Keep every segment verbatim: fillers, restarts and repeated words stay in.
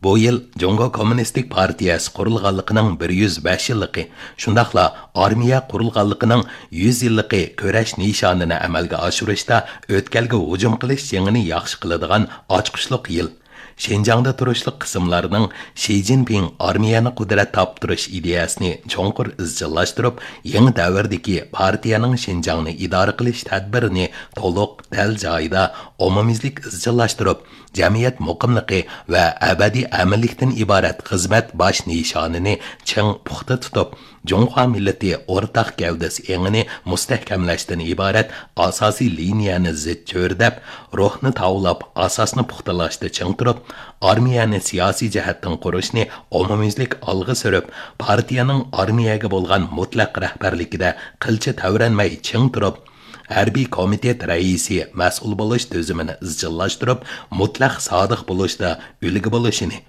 بۇ يىل جۇڭگو كوممۇنىستىك پارتىيەسى قۇرۇلغانلىقىنىڭ بىر يۈز بەش يىللىقى، شۇنداقلا ئارمىيە قۇرۇلغانلىقىنىڭ يۈز يىللىقى كۈرەش نىشانىنى ئەمەلگە ئاشۇرۇشتا ئۆتكەلگە ھۇجۇم قىلىش جېڭىنى ياخشى قىلىدىغان ئاچقۇچلۇق يىل. شىنجاڭدا تۇرۇشلۇق قىسىملارنىڭ شى جىنپىڭ ئارمىيەنى قۇدرەت تاپتۇرۇش ئىدىيەسىنى چوڭقۇر ئىزچىللاشتۇرۇپ، يېڭى دەۋردىكى پارتىيەنىڭ شىنجاڭنى ئىدارە قىلىش تەدبىرىنى تولۇق، دەل جايىدا، ئومۇميۈزلۈك ئىزچىللاشتۇرۇپ، جەمئىيەت مۇقىملىقى ۋە ئەبەدىي ئەمىنلىكتىن ئىبارەت خىزمەت باش نىشانىنى چىڭ پۇختا تۇتۇپ، جۇڭخۇا مىللىتى ئورتاق گەۋدىسى ئېڭىنى مۇستەھكەملەشتىن ئىبارەت ئاساسىي لىنىيەنى زىچ چۆرىدەپ، روھنى تاۋلاپ، ئاساسنى پۇختىلاشتا چىڭ تۇرۇپ، ئارمىيەنى سىياسىي جەھەتتىن قۇرۇشنى ئومۇميۈزلۈك ئالغا سۈرۈپ، پارتىيەنىڭ ئارمىيەگە بولغان مۇتلەق رەھبەرلىكىدە قىلچە تەۋرەنمەي چىڭ تۇرۇپ، ھەربىي كومىتېت رەئىسى مەسئۇل بولۇش تۈزۈمىنى ئىزچىللاشتۇرۇپ، مۇتلەق سادىق بولۇشتا ئۈلگە بولۇشىنى،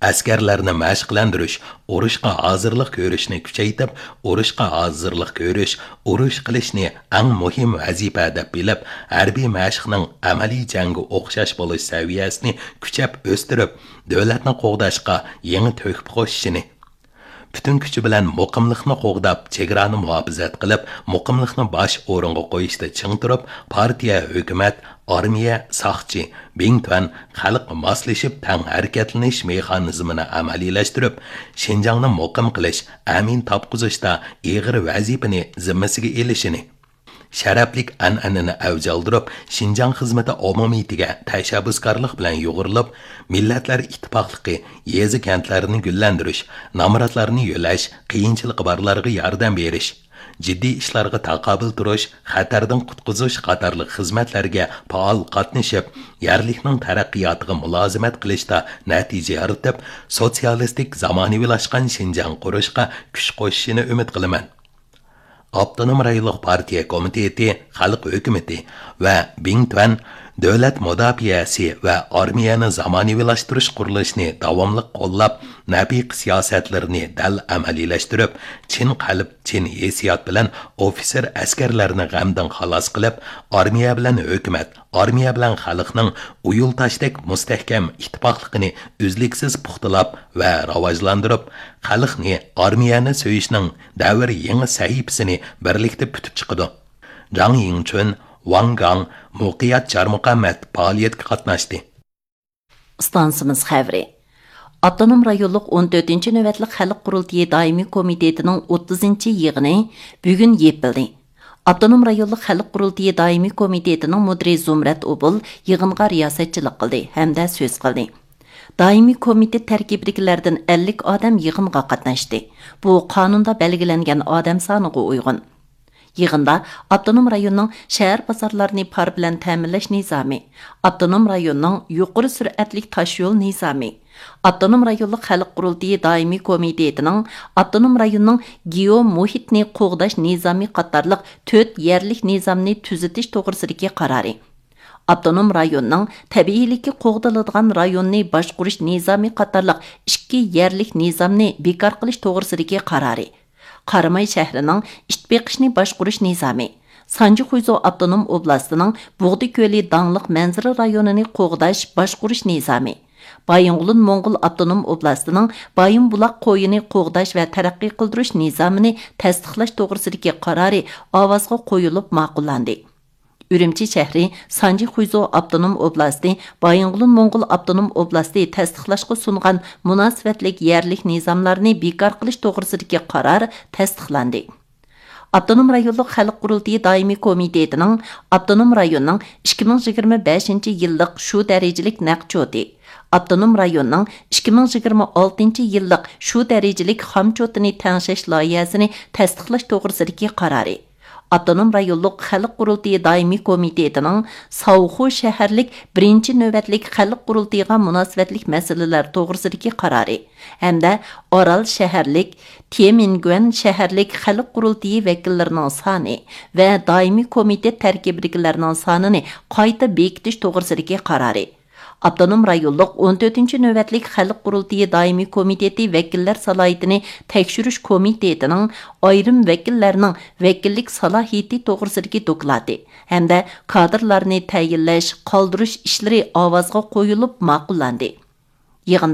ئەسكەرلەرنى مەشىقلەندۈرۈش، ئۇرۇشقا ھازىرلىق كۆرۈشنى كۈچەيتىپ، ئۇرۇشقا ھازىرلىق كۆرۈش، ئۇرۇش قىلىشنى ئەڭ مۇھىم ۋەزىپە دەپ بىلىپ، ھەربىي مەشىقنىڭ ئەمەلىي جەڭگە ئوخشاش بولۇش سەۋىيەسىنى كۈچەپ ئۆستۈرۈپ، دۆلەتنى قوغداشقا يېڭى تۆھپە قوشۇشىنى، پۈتۈن كۈچى بىلەن مۇقىملىقنى قوغداپ، چېگرانى مۇھاپىزەت قىلىپ، مۇقىملىقنى باش ئورۇنغا قويۇشتا چىڭ تۇرۇپ، پارتىيە، ھۆكۈمەت، ئارمىيە، ساقچى، بىڭتۈەن، خەلق ماسلىشىپ تەڭ ھەرىكەتلىنىش مېخانىزمىنى ئەمەلىيلەشتۈرۈپ، شىنجاڭنى مۇقىم قىلىش، ئەمىن تاپقۇزۇشتا ئېغىر ۋەزىپىنى زىممىسىگە ئېلىشىنى، شەرەپلىك ئەنئەنىنى ئەۋج ئالدۇرۇپ، شىنجاڭ خىزمىتى ئومۇمىيىتىگە تەشەببۇسكارلىق بىلەن يۇغۇرۇلۇپ، مىللەتلەر ئىتتىپاقلىقى، يېزا-كەنتلەرنى گۈللەندۈرۈش، نامراتلارنى يۆلەش، قىيىنچىلىقى بارلارغا ياردەم بېرىش، جىددىي ئىشلارغا تاقابىل تۇرۇش، خەتەردىن قۇتقۇزۇش قاتارلىق خىزمەتلەرگە پائال قاتنىشىپ، يەرلىكنىڭ تەرەققىياتىغا مۇلازىمەت قىلىشتا نەتىجە يارىتىپ، سوتسىيالىستىك زامانىۋىلاشقان شىنجاڭ قۇرۇشقا كۈچ قوشۇشىنى ئۈمىد قىلىمەن. ئاپتونوم رايونلۇق پارتىيە كومىتېتى، خەلق ھۆكۈمىتى ۋە بىڭتۈەن دۆلەت مۇداپىئەسى ۋە ئارمىيەنى زامانىۋىلاشتۇرۇش قۇرۇلۇشىنى داۋاملىق قوللاپ، نەپىقە سىياسەتلىرىنى دەل ئەمەلىيلەشتۈرۈپ، چىن قەلب، چىن ھېسسىيات بىلەن ئوفىتسېر ئەسكەرلەرنى غەمدىن خالاس قىلىپ، ئارمىيە بىلەن ھۆكۈمەت، ئارمىيە بىلەن خەلقنىڭ ئۇيۇل تاشتەك مۇستەھكەم ئىتتىپاقلىقىنى ئۈزلۈكسىز پۇختىلاپ ۋە راۋاجلاندۇرۇپ، خەلقنى ئارمىيەنى سۆيۈشنىڭ دەۋر يېڭى سەھىپىسىنى بىرلىكتە پۈتۈپ چىقىدۇ. جاڭ يىڭچۈن، ۋاڭ گاڭ، مۇقىيات چارمۇقەمەت پائالىيەتكە قاتناشتى. ئىستانسىمىز خەۋىرى. ئاپتونوم رايونلۇق ئون تۆتىنچى نۆۋەتلىك خەلق قۇرۇلتىيى دائىمىي كومىتېتىنىڭ ئوتتۇزىنچى يىغىنى بۈگۈن يېپىلدى. ئاپتونوم رايونلۇق خەلق قۇرۇلتىيى دائىمىي كومىتېتىنىڭ مۇدىرى زۇمرەت ئوبۇل يىغىنغا رىياسەتچىلىك قىلدى ھەمدە سۆز قىلدى. دائىمىي كومىتېت تەركىبىدىكىلەردىن ئەللىك ئادەم يىغىنغا قاتناشتى. بۇ قانۇندا بەلگىلەنگەن ئادەم سانىغا ئۇيغۇن. يىغىندا ئاپتونوم رايوننىڭ شەھەر بازارلارنى پار بىلەن تەمىنلەش نىزامى، ئاپتونوم رايوننىڭ يۇقىرى سۈرئەتلىك تاشيول نىزامى، ئاپتونوم رايونلۇق خەلق قۇرۇلتىيى دائىمىي كومىتېتىنىڭ ئاپتونوم رايوننىڭ گېئو مۇھىتنى قوغداش نىزامى قاتارلىق تۆت يەرلىك نىزامنى تۈزىتىش توغرىسىدىكى قارارى، ئاپتونوم رايوننىڭ تەبىئىيلىكى قوغدىلىدىغان رايوننى باشقۇرۇش نىزامى قاتارلىق ئىككى يەرلىك نىزامنى بىكار قىلىش توغرىسىدىكى قارارى، قاراماي شەھىرىنىڭ ئىت بېقىشنى باشقۇرۇش نىزامى، سانجى خۇيزۇ ئاپتونوم ئوبلاستىنىڭ بۇغدى كۆلى داڭلىق مەنزىرە رايونىنى قوغداش، باشقۇرۇش نىزامى، بايىنغولىن موڭغۇل ئاپتونوم ئوبلاستىنىڭ بايىنبۇلاق قويىنى قوغداش ۋە تەرەققىي قىلدۇرۇش نىزامىنى تەستىقلاش توغرىسىدىكى قارارى ئاۋازغا قويۇلۇپ ماقۇللاندى. ئۈرۈمچى شەھىرى سانجى خۇيزۇ ئاپتونوم ئوبلاستى، بايىنغولىن موڭغۇل ئاپتونوم ئوبلاستى تەستىقلاشقا سۇنغان مۇناسىۋەتلىك يەرلىك نىزاملارنى بىكار قىلىش توغرىسىدىكى قارار تەستىقلاندى. ئاپتونوم رايونلۇق خەلق قۇرۇلتىيى دائىمىي كومىتېتىنىڭ ئاپتونوم رايوننىڭ ئىككى مىڭ يىگىرمە بەشىنچى يىللىق شۇ دەرىجىلىك نەق چوتى، ئاپتونوم رايوننىڭ ئىككى مىڭ يىگىرمە ئالتىنچى يىللىق شۇ دەرىجىلىك خام چوتىنى تەڭشەش لايىھەسىنى تەستىقلاش توغرىسىدىكى قارارى، ئاپتونوم رايونلۇق خەلق قۇرۇلتىيى دائىمىي كومىتېتىنىڭ ساۋخۇ شەھەرلىك بىرىنچى نۆۋەتلىك خەلق قۇرۇلتىيىغا مۇناسىۋەتلىك مەسىلىلەر توغرىسىدىكى قارارى ھەمدە ئارال شەھەرلىك، تيەنئەنگۈەن شەھەرلىك خەلق قۇرۇلتىيى ۋەكىللىرىنىڭ سانى ۋە دائىمىي كومىتېت تەركىبىدىكىلەرنىڭ سانىنى قايتا بېكىتىش توغرىسىدىكى قارارى، ئاپتونوم رايونلۇق ئون تۆتىنچى نۆۋەتلىك خەلق قۇرۇلتىيى دائىمىي كومىتېتى ۋەكىللەر سالاھىيىتىنى تەكشۈرۈش كومىتېتىنىڭ ئايرىم ۋەكىللەرنىڭ ۋەكىللىك سالاھىيىتى توغرىسىدىكى دوكلاتى ھەمدە كادىرلارنى تەيىنلەش، قالدۇرۇش ئىشلىرى ئاۋازغا قويۇلۇپ ماقۇللاندى. يىغىندا